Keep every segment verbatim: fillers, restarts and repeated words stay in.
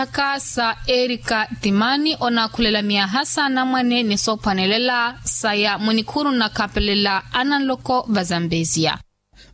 Aka sa erika timani onaakhulela myaha s'anamwane ni soophwanelela saya mwinikhuuru nnakhapelela ananloko va zambezia.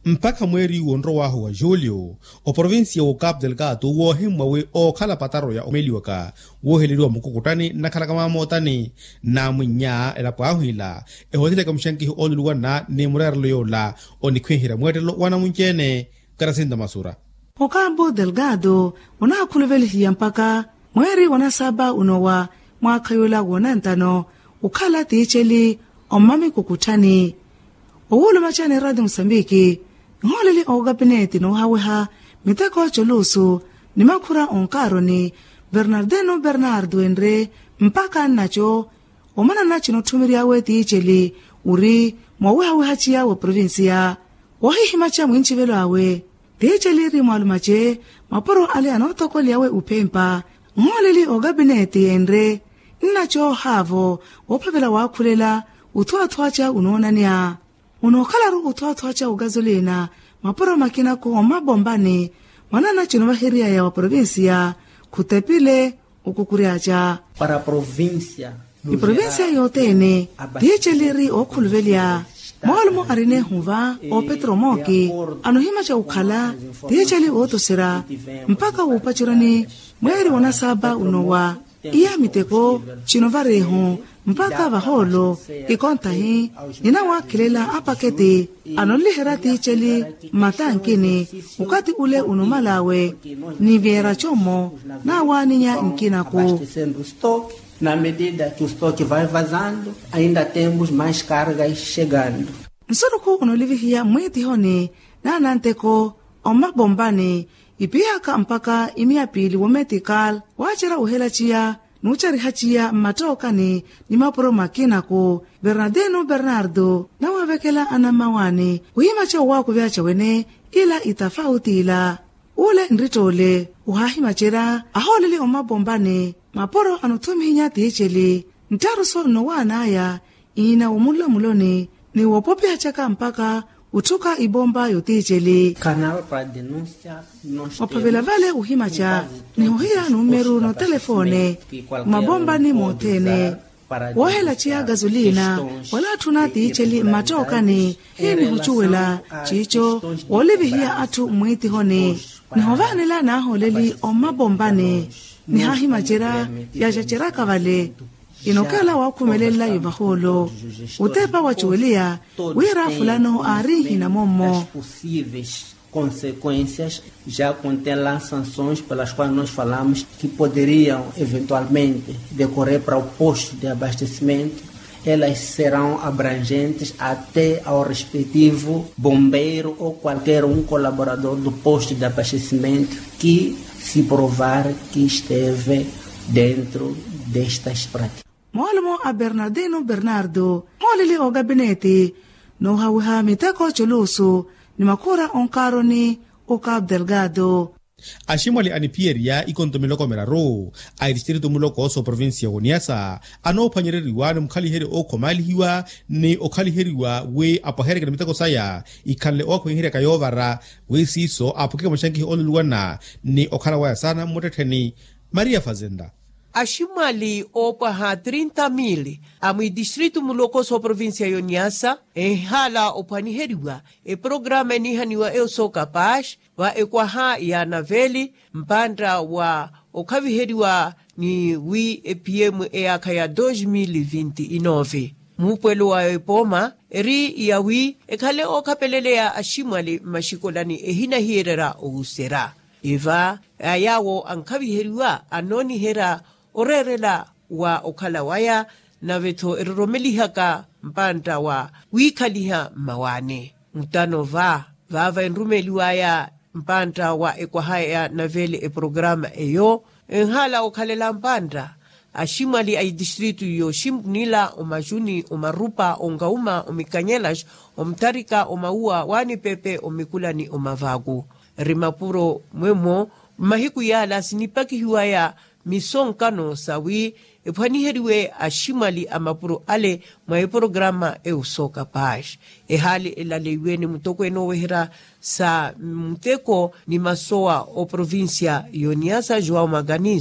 Mpakha mweeri w'onrow'ahu wa julio, oprovincia w'ocapu delgado woohimmwa wi ookhala pataro ya omeliwaka wooheleriwa mukukuttani nnakhalaka maamootani n'amwinnya elapo ahu ila ehoteleke muxankihi ooluluwana ni mureerelo yoola onikhwiherya mweettelo w'anamunci-ene. Karasinta masura. Okapu delgado onaakhuluvelihiya mpakha mweeri wa nasaba unowa mwaakha yoola woonantano okhala tiiceli ommamikukutthani. Owuuluma caani eraati musambiki nhooleli ookapineti noohaweha miteko colusu ni makhura onkaaroni bernardino bernardo enre mpakha nnaco omanana cinotthumery'awe tiiceli ori moowehaweha ciya wa provincia. Woohihimaca mwincivelo awe tiiceli ri mwaalumace mapuro ale anootokoly'awe uphempa nhooleli ookapineti enre nnaco haavo woophavela waakhulela uthuwathuwaca unoonanya. Unookhalaru uthuwathuwaca okazolina mapuro makinaku omapompani mwanana cinovaheriyaya wa provincia khutepile okukury'aca para provincia. Iprovincia yothene tiiceli ri ookhuluvelya moolumo arina ehuva oopetro mooki anohimaca okhala tiiceli ootoserya mpakha wuupacurani mweeri wa nasaba unowa iya miteko cinovareehu mpakha vahoolo ikontahi ninawaakhelela apaketi anonliherya tiiceli mmatankini okathi ule unomal'awe ni vyeera commo naawaaninya nkinaku. Na medida ki ustoki vai vazando ainda temos mais kargas chegando. Nsurukhu onolivihiya mwiitihoni naananteko ommapompani ipiihaka mpakha imiya piili wometikal waacerya ohelaciya nuucarihaciya mmattookani ni mapuro makinaku bernardino bernardo nawaavekela anammawaani wihimaca owaakuveyaca wene ila itafauti ila. Ule nrittoole ohaahimacerya ahooleli omapompani mapuro anothumihinya tiiceli nttaruso nnowaan'aya iina womunlamuloni ni woopopihacaka mpakha otthuka ipompa yotiiceli. Ophavela vale ohimaca nihohiya numeru notelefone mmapompani mothene woohelaciya gasolina wala atthuna tiiceli mmattookani hinihucuwela ciico woolivihiya atthu mmwiitihoni nihovaanela naahooleli ommapompani nihaahimacerya yaacaceryaka vale inookhala waakhumelelela yovahoolo otepa wacuweliya wira fulano aarinhina mommo. Consequencias já contém lá sanções pelas quais nós falamos que poderiam eventualmente decorrer para o posto de abastecimento. Elas serão abrangentes até ao respectivo bombeiro ou qualquer um colaborador do posto de abastecimento que se provar que esteve dentro destas práticas. Moolumo a bernardino bernardo mooleli ookapineti noohawiha miteko colusu ni makhura onkaaroni okapu delgado. Aximwali aniphiyerya ikonto miloko miraru a itistritu muloko sooprovincia woniasa anoophwanyereriwa ni mukhaliheryo ookhomaalihiwa ni okhaliheriwa wi apwahereke ni miteko saya ikhanle ookhwenherya kayoovara wi siiso aphukike maxankihi ooluluwana ni okhala waya saana mmuttettheni. Maria fazenda. Aximwali oopwaha trinta mili a mwidistritu muloko sooprovincia yoniasa enhala ophwaniheriwa eprograma eniihaniwa eyo sookapaxi va ekwaha ya naveli mpantta wa okhaviheriwa ni wi epm eyaakha ya dos mil vinti inove. Muupwelo wa epooma eri ya wi ekhale ookhapeleleya aximwali mmaxikolani ehinahiyererya ohuserya eva a yaawo ankhaviheriwa anooniherya oreerela wa okhala waya nave-tho eroromelihaka mpantta wa wiikhaliha mmawaani. Mutano va vaava enrumeeliwaya mpantta wa ekwaha ya naveli eprograma eyo enhala okhalela mpantta aximwali a itistritu yooximpunila omajuni omarupa onkauma omikanyelas omutharika omauwa waanipepe omikulani omavaku ri mapuro mwemo mmahiku yaala sinipakihiwaya misonkano sawi ephwaniheriwe aximwali a mapuro ale mwa eprograma eusoka paxi ehaali elaleiwe ni mutokweene oweherya sa muteko ni masowa oprovincia yoniasa joão maganizo.